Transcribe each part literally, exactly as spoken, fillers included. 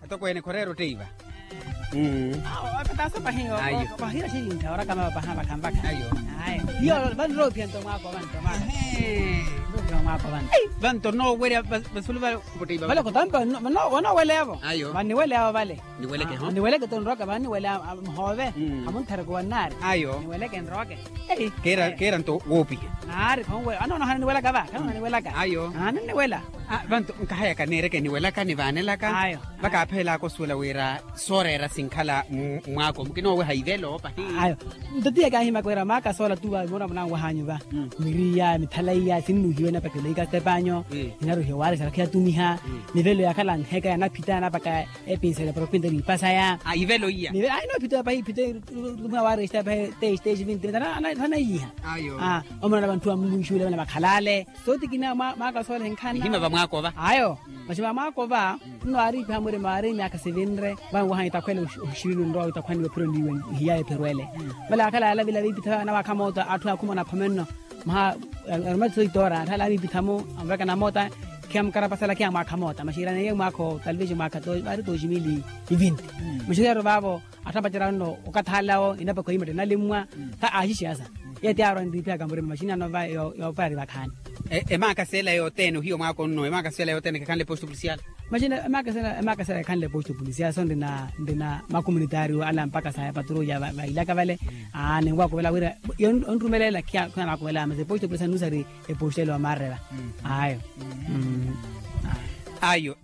Tokweene khoreera otteiva. Awo apetaso pahi. Ayo. Pahira xilintha orakama paha vakhampakha. Ayo. Ayo. Iyo vanroophiya nto mwaako vanto mwaako. Mwaako vanto. Vanto noowerya vasulu vale. Vale kotampa. Vanooweleyavo. Ayo. Vaniweleyavo vale. Niweleke ho. Niweleke tonroka vaniweleya. Mhoove. Hamunthareke wannaari. Ayo. Niweleke nroke. Keera nto woopiha. Naari khonwe anoona hananiwelaka va khanananiwelaka. Ayo. Ananiwela. Vanto nkahayaka neereke niwelaka nivaanelaka. Ayo. Vakaaphela kosuwela wira sooreera sinkhala mwaako mukinooweha ivelo pahi. Ayo. Nto tiya kaahimaka wira maaka soola tuva mura munanwahanyu va. Miriya mithalaiya sinnuhiwe napakela ikastepanyo. Inaruhiwe waari sarakhi yatumiha. Mivelo yakhala nheka yanaphita napaka epinsele propinto niipasaya. Ivelo iya. Ayi noophita pahi iphita. Tumiha waari estepahe teshi teshi vinti vinti anaiyiha. Omona na vanthu vamunwixuwile vana vakhalale. Sooti kina mwaaka soolehe nkhana ihima vamwaakova. Ayo. Maxi vamwaakova. Nno aariipiha murima aari myaakha sivinre. Vanwaha itakhwele oxiriri onrowa itakhwaniwe phiro niiwe. Ihiyaye phirwele. Vale akhala yalavila viipitha vanawaakha mooto atthu akhumona khomenno. Maha arumatiso itoora atthala aviipitha-mo. Anvekana moota. Khiyamukarapasala khiyamwaakha moota maxi iraneiye mwaakha otalivexi mwaakha vaari tooximili. Ivinti. Maxi khiyari vaavo. Atthu apacerya nno okathalawo inapakha oyimatta enalimmwa. Tha aaxixiyasa. Iye ti aarwa nriiphiyaka murima maxinano va. Yooparari vakhaani. Emaakasela yothene ohiyo mwaako nno emaakasela yothene khekhanle posto polisial. Maxina emaakasela ekhanle posto polisial so nrina nrina makomunitario ala mpakha sa epatrulla vailaka vale. Aani nwaakuvela wira onrumelela khiya nwaakuvela masi posto polisial nusari. Eposto ele omarreva. Ayo. Ayo.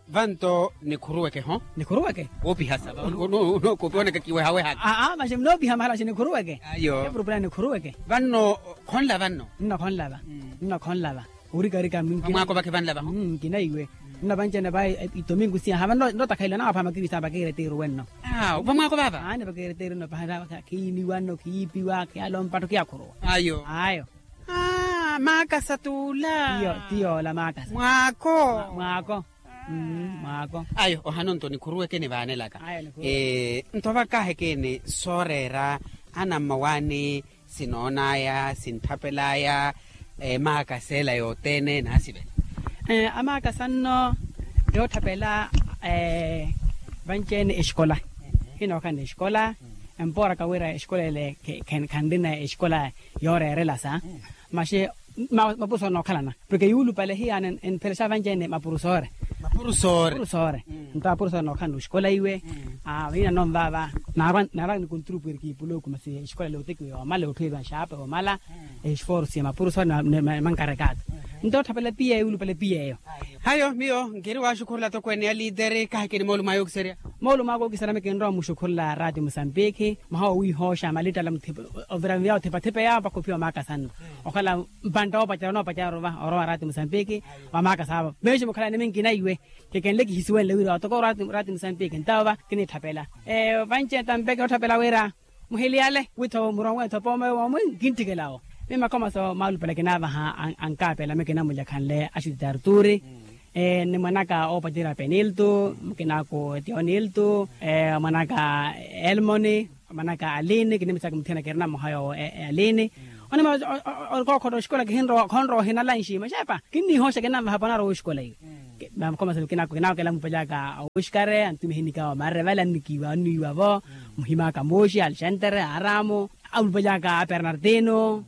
Vanto nikhuruweke ho. Nikhuruweke. Woopihasa. Nookopi onakakiwehawehaka. Aa maxi munoopiha mahala xi nikhuruweke. Ayo. Epurupula nikhuruweke. Vanno khonlava nno. Nno khonlava. Nno khonlava. Orikarika mwaako vakhe vanlava ho. Nkina iwe. Nno vanci-ene va itomingu siyaha vanno nnotakhalela nawapha makivisa vakiireteeru wenno. Vamwaako vava. Aani vakiireteeru nno pahara. Khiiniwa nno khiipiwa khiyalompa atthu khiyakhuruwa. Ayo. Ayo. Maakasa t'ula. Tiyoola maakasa mwaako. Mwaako. Mwaako. Ayo ohano nto nikhuruweke nivaanelaka. Nto vakahekeni sooreera anammawaani sinoonaya sintthapelaya. Maakasa ela yothene naasivela. Amaakasa nno yootthapela vanci-ene exikola. Hinookhala exikola. Empooraka wira exikola ele khanrina exikola yooreerelasa. Maxi mapurusu anookhalana porke yuulupale hiyaana enphelexa vanci-ene mapurusoore. Mapurusoore. Nto apurusoore anookhalana oxikola iwe. Vahina nonvaava naarwa nikunturu pwiriki ipulooku masi exikola ele otekiwa yoomala otthuweliwa nxaape yoomala. Esforsu ya mapurusoore na mankarekaatu. Nto otthapela piya yuulupale piya eyo. Hayo miyo nkiri waaxukhurula tokweene ya liiteri kahikini moolumo ayo okiserya. Moolumo ayo okiserya mikinrowa muxukhurula raati musambiki. Mwaha owiihooxa malittala ovira miya othipathipa yaawo mpakha ophiya omaakasa nno. Okhala mpantta oopacerya onoopacerya orova orowa raati musambiki. Wamaakasa avo meexi mukhalani minkina iwe. Kekenle kihisiwenle wira otoka raati musambiki ntawo va kiniitthapela. Vanci-ene tampeke otthapela wira muhiliyale witho muronwe tho pooma yoowo mwe nkintthikela-wo. Miyo makhomaso maalupale kinaavaha ankaapela miyo kinamulya khanle axuti tarturi. Ni mwanaka oopacerya penilto mukinaku tionilto mwanaka elmoni mwanaka aline kinimisaka muthiyana kirina mwaha yoowo aline. Onima orikookhota oxikola kihinrowa khonrowa ohinalanxi maxepa kinniihooxa kinanvaha panarowa oxikola iwe. Makhomaso kinaku kinaakela mupalyaka awoxikare antumiha enikaawo marrevale annikiiwa anniiwa-vo. Muhimaka mooxi alexantere aaramu alupalyaka abernardino.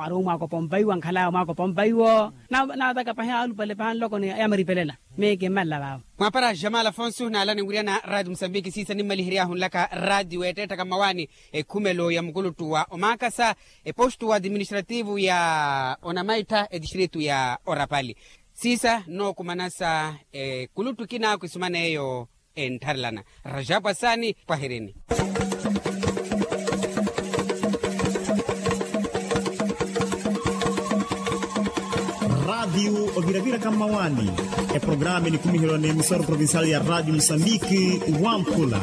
Ari omwaako pompaiwo ankhalaya omwaako pompaiwo. Naataka pahi alupale pahi anloko ni yamaripelela. Miyo kimmalela vaavo. Mwaapara jamal afonso naala ninwiryana raati musambiki siisa nimmalihery'ahu nlaka raati weetteettaka mmawaani. Ekhumelo ya mukuluttu wa omaakasa epostu administrativu ya onamaittha etistritu ya orapali. Siisa nookumanasa ekuluttu kinaakhu esuman'eyo enttharelana. Rajapu asaani pwahirini. Raatiyu oviraviraka mmawaani. Eprogramu enikumiherwa n'emisoro provincial ya raatiyu musambiki wamphula.